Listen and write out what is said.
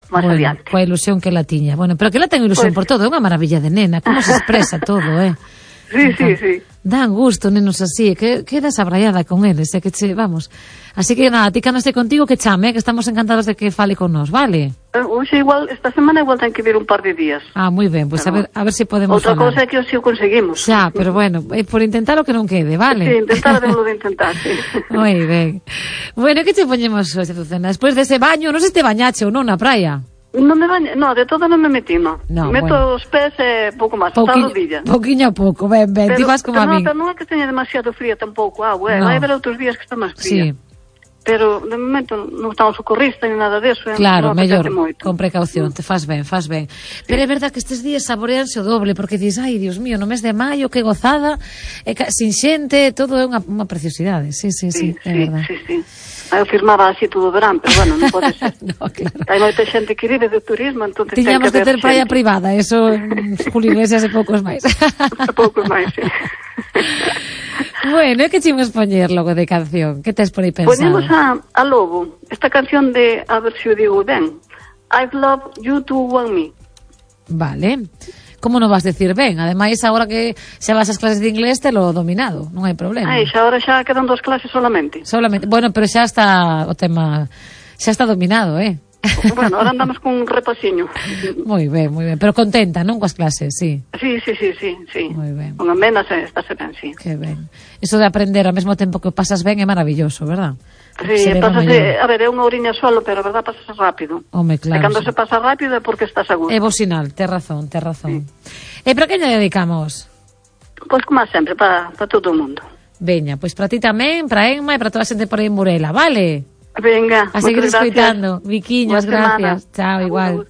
máis adiante. Coa ilusión que la tiña. Bueno, pero que la ten ilusión por todo, é unha maravilla de nena, como se expresa todo, Sí. Dan gusto, nenos así, que quedas abraiada con eles, vamos. Así que nada, ti cando este contigo que chame, que estamos encantados de que fale con nós, vale? Hoxe igual, esta semana igual ten que vir un par de días. Moi ben, pois a ver se podemos outra falar. Outra cousa é que hoxe o conseguimos. Xa, pero bueno, por intentar o que non quede, vale? Sí, intentar de intentar, sí. Moi ben. Bueno, que te poñemos hoxe, Azucena? Despois dese baño, non sei se te bañache ou non na praia. Non me baño, de todo non me metí, meto os pés e pouco máis, hasta a rodilla. Pouquiño a pouco, ben, ti vas como a min. Pero non é que teña demasiado fría tampouco a agua, vai haber outros días que está máis fría. Sí. Pero, de momento, non estamos socorrista ni nada deso. Claro, mellor, con precaución, te faz ben. Pero é verdad que estes días saboreanse o doble, porque dis, ai, Dios mío, no mes de maio, que gozada, sin xente, todo é unha preciosidade. Sí, é verdad. Sí. Eu firmaba así todo o verán, pero bueno, non pode ser. Claro. Hai moita xente que vive de turismo, entón tiñamos que ter praia privada, eso, Julio Iglesias e poucos máis. Poucos máis, sí. Bueno, é que chimos poñer logo de canción? Que tes por aí pensado? Ponemos a Lobo, esta canción de, a ver se o digo ben, I've loved you to want me. Vale. Como non vas decir ben? Ademais, agora que xa vas ás clases de inglés, te lo dominado, non hai problema. Agora xa quedan 2 clases solamente. Bueno, pero xa está o tema, xa está dominado, Bueno, ahora andamos con un repasiño. Moi ben, pero contenta, non coas clases, sí. Sí. Moi ben. Con amenas estáse ben, sí. Que ben. Iso de aprender ao mesmo tempo que pasas ben é maravilloso, verdad? Sí, pasase, a ver, é unha horiña solo, pero a verdad pasase rápido. Home, claro. E cando se pasa rápido é porque estás a gusto. É bo sinal, tes razón. Sí. E para que lle dedicamos? Pois como sempre, para todo o mundo. Veña, pois para ti tamén, para Emma e para toda a xente por aí en Burela, vale? Venga, a seguir escoitando. Viquiños, gracias. Chao, igual.